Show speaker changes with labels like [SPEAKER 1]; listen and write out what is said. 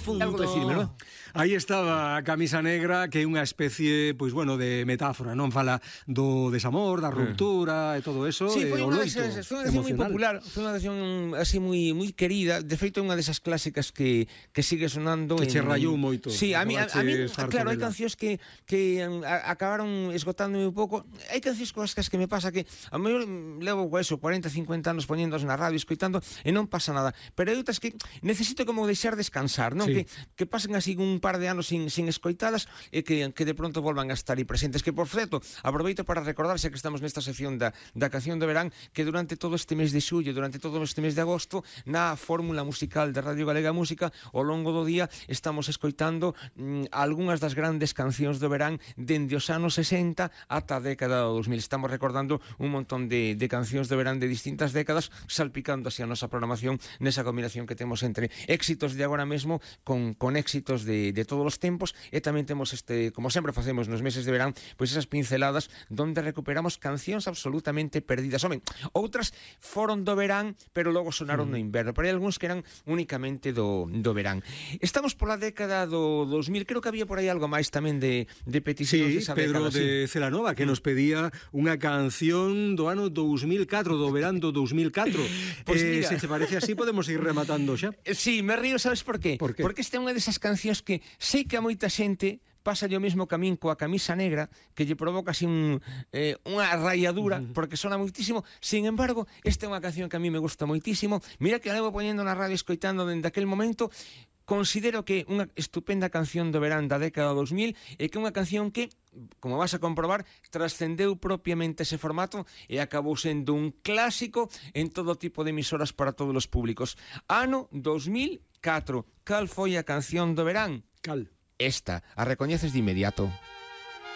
[SPEAKER 1] Algo decirme, non?
[SPEAKER 2] Aí estaba a camisa negra, que é unha especie, pois bueno, de metáfora, non? Fala do desamor, da ruptura e todo eso.
[SPEAKER 1] Sí, foi unha
[SPEAKER 2] loito
[SPEAKER 1] canción moi popular, foi unha canción así moi querida. De feito, é unha desas clásicas que sigue sonando.
[SPEAKER 2] Que che rayou moito.
[SPEAKER 1] Sí, a mí claro, hai cancións que acabaron esgotándome un pouco. Hai cancións coas que me pasa que a mellor levo eso 40, 50 anos poñéndoas na radio, escoitando e non pasa nada. Pero hai outras que necesito como deixar descansar, non?
[SPEAKER 2] Sí.
[SPEAKER 1] Que pasen así un par de anos sin escoitalas e que de pronto volvan a estar aí presentes. Que, por certo, aproveito para recordar, xa que estamos nesta sección da canción do verán, que durante todo este mes de xullo, durante todo este mes de agosto, na fórmula musical de Radio Galega Música, ao longo do día estamos escoitando algunhas das grandes cancións do verán dende os anos 60 ata a década do 2000. Estamos recordando un montón de cancións do verán de distintas décadas, salpicando así a nosa programación nesa combinación que temos entre éxitos de agora mesmo con éxitos de todos os tempos, e tamén temos como sempre facemos nos meses de verán, pois esas pinceladas donde recuperamos cancións absolutamente perdidas. Home, outras foron do verán, pero logo sonaron no inverno, pero hai algúns que eran únicamente do verán. Estamos pola década do 2000, creo que había por aí algo máis tamén de peticións desa década.
[SPEAKER 2] Pedro de Celanova, que nos pedía unha canción do ano 2004, do verán do 2004.
[SPEAKER 1] Pois mira,
[SPEAKER 2] se te parece así, podemos ir rematando xa.
[SPEAKER 1] Sí, me río, sabes por qué?
[SPEAKER 2] Por qué?
[SPEAKER 1] Porque esta é unha desas cancións que sei que a moita xente pasa o mesmo camín coa camisa negra, que lle provoca así unha rayadura, porque sona moitísimo. Sin embargo, esta é unha canción que a mí me gusta moitísimo. Mira que a levo poñendo na radio, escoitando dende aquel momento. Considero que é unha estupenda canción do verán da década 2000 e que é unha canción que, como vas a comprobar, trascendeu propiamente ese formato e acabou sendo un clásico en todo tipo de emisoras para todos os públicos. Ano 2004. Cal foi a canción do verán?
[SPEAKER 2] Cal?
[SPEAKER 1] Esta, a recoñeces de inmediato.